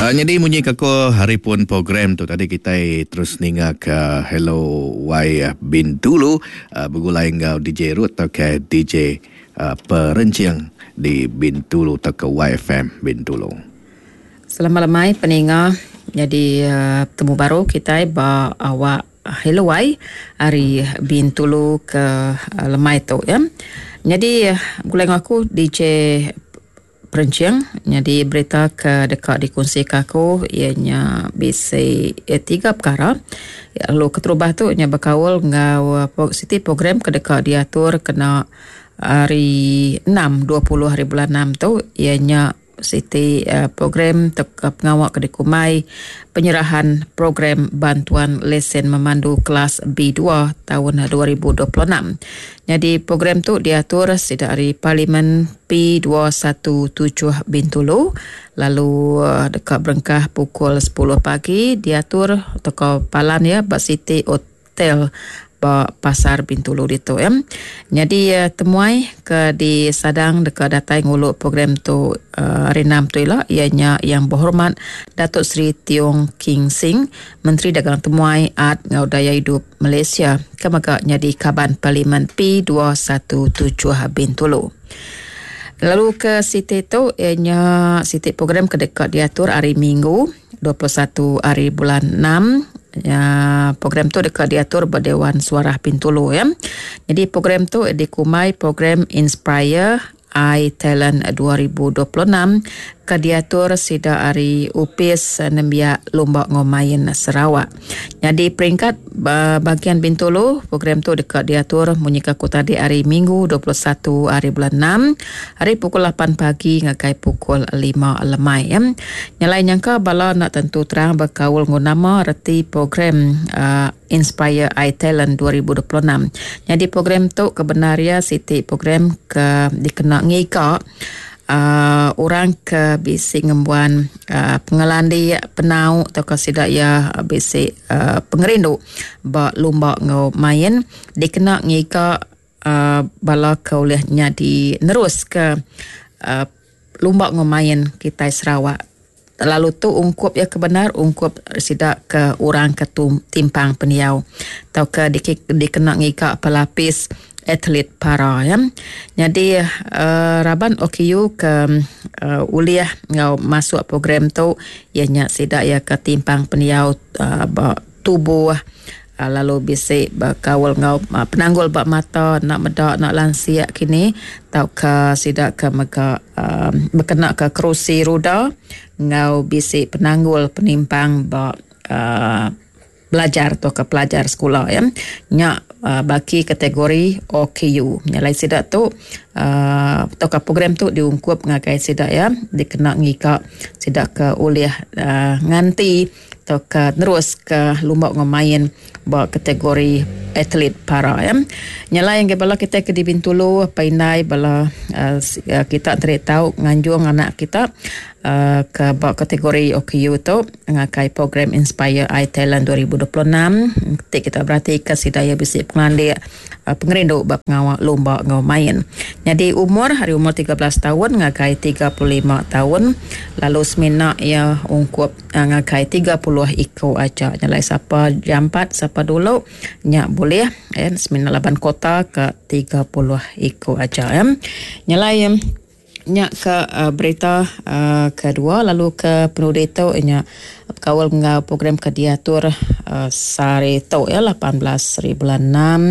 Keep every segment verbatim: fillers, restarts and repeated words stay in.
Uh, jadi munyi ke ko hari pun program tu tadi kita terus ninga ke Hello Y Bintulu uh, begulai enggau D J Ruth atau ke D J uh, Perencing di Bintulu atau ke Y F M Bintulu. Selamat lemai peninga. Jadi uh, temu baru kita ba awak Hello Y hari Bintulu ke uh, lemai tu ya. Jadi uh, begulai enggau aku D J Perencing. Jadi berita ke dekat dikongsi ke aku ianya bisi eh, tiga perkara. Ya, lalu keterubah tu nya berkaul enggau uh, siti program ke dekat diatur kena hari enam dua puluh hari bulan enam tu ianya siti uh, program tek, uh, pengawak ke dikumai penyerahan program bantuan lesen memandu kelas B dua tahun dua ribu dua puluh enam. Jadi program tu diatur sida hari Parlimen P dua satu tujuh Bintulu lalu uh, dekat berengkah pukul sepuluh pagi diatur toko palan ya bak City Hotel ba Pasar Bintulu ditu ya. Jadi uh, temuai ke di Sadang dekat datai nguluk program tu uh, hari enam tu ila ianya yang berhormat Datuk Seri Tiong King Sing, Menteri Dagang Temuai Art ngau Daya Hidup Malaysia, ke mega jadi kaban Parlimen P dua satu tujuh Bintulu. Lalu ke siti tu ianya siti program ke dekat diatur hari Minggu dua puluh satu hari bulan enam. Ya, program tu dekat diatur Dewan Suara Bintulu ya. Jadi program tu dikumai program Inspire I Talent dua ribu dua puluh enam ke diatur sida hari Upis Nembiak Lumba Ngomain Sarawak. Jadi peringkat bahagian Bintulu program tu dekat diatur munyi ke aku tadi hari Minggu dua puluh satu hari bulan enam hari pukul lapan pagi ngagai pukul lima lemai ya. Nyalai nyangka bala nak tentu terang berkaul ngu nama reti program uh, Inspire I Talent dua ribu dua puluh enam. Jadi program tu kebenaria siti program ke dikena ngika uh, orang ke bisi ngembuan uh, pengelandi penau atau ke sidak ya bisi uh, pengerindu ba lumba ngau main dikena ngika uh, bala ke oleh nyadi nerus ke uh, lumba ngau main kita Sarawak. Lalu tu ungkup ya kebenar ungkup sidak ke orang ke timpang peniau atau ke dikena ngika pelapis atlet para ya. Jadi uh, raban O K U ke uh, uliah ngau masuk program tu ianya sidak ya ke timpang peniau uh, ba tubuh uh, lalu bisi bakawal ngau uh, penanggul bak mata nak medak nak lansiak kini tau ke sidak ke mega uh, berkena ke kerusi roda ngau bisi penanggul penimpang bak uh, belajar atau ke pelajar sekolah ya. Nyak uh, bagi kategori O K U. Nyalai sidak tu uh, atau ke program tu diungkup ngagai sidak ya, dikena ngika sidak ke oleh uh, nganti atau ke terus ke lumba ngomain ba kategori atlet para ya. Nyalai yang bala kita ke di Bintulu painai bala uh, kita teri tahu nganjung anak kita uh, ke ba kategori O K U tu ngakai program Inspire I Talent dua ribu dua puluh enam. Ketik kita berarti ke sidaya bisi pengandik uh, pengerindu ba pengawal lumba ngau main. Jadi umur hari umur tiga belas tahun ngakai tiga puluh lima tahun lalu semina ya ungkup uh, ngakai tiga puluh iko aja. Nyalai siapa jampat siapa dulu nyak boleh ya semina laban kota ke tiga puluh iko aja ya. Nyalai nyak ke uh, berita uh, kedua lalu ke penudi tu nyak kawal ngau program ke diatur uh, sehari tu ya lapan belas hari bulan enam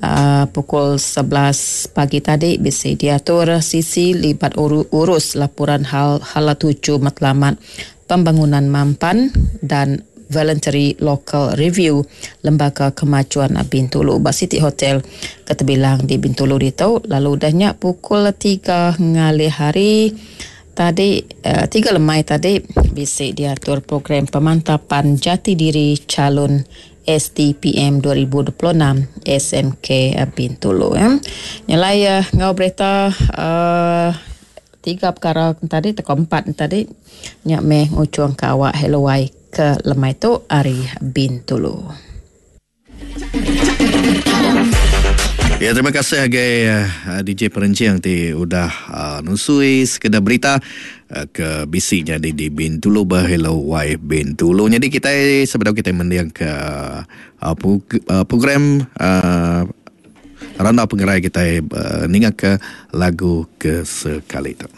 uh, pukul sebelas pagi tadi bisa diatur sisi libat uru, urus laporan hal hala tuju matlamat pembangunan mampan dan Voluntary Local Review Lembaga Kemajuan Bintulu bak City Hotel keterbilang di Bintulu ditu lalu dahnya pukul tiga ngalih hari tadi uh, tiga lemai tadi bisa diatur program pemantapan jati diri calon S T P M dua ribu dua puluh enam S M K Bintulu ya. Nyalai uh, ngau berita uh, tiga perkara tadi atau empat tadi nyak meh ngucuang ke awak Hello Y ke lemai tu hari Bintulu. Ya, terima kasih agai uh, D J Perencing ti udah uh, nusui sekedar berita uh, ke bisi jadi di Bintulu bah Hello Y Bintulu. Jadi kita sebelum kita mendiang ke uh, program uh, Randau Pengerai kita uh, ninga ke lagu ke sekali tu.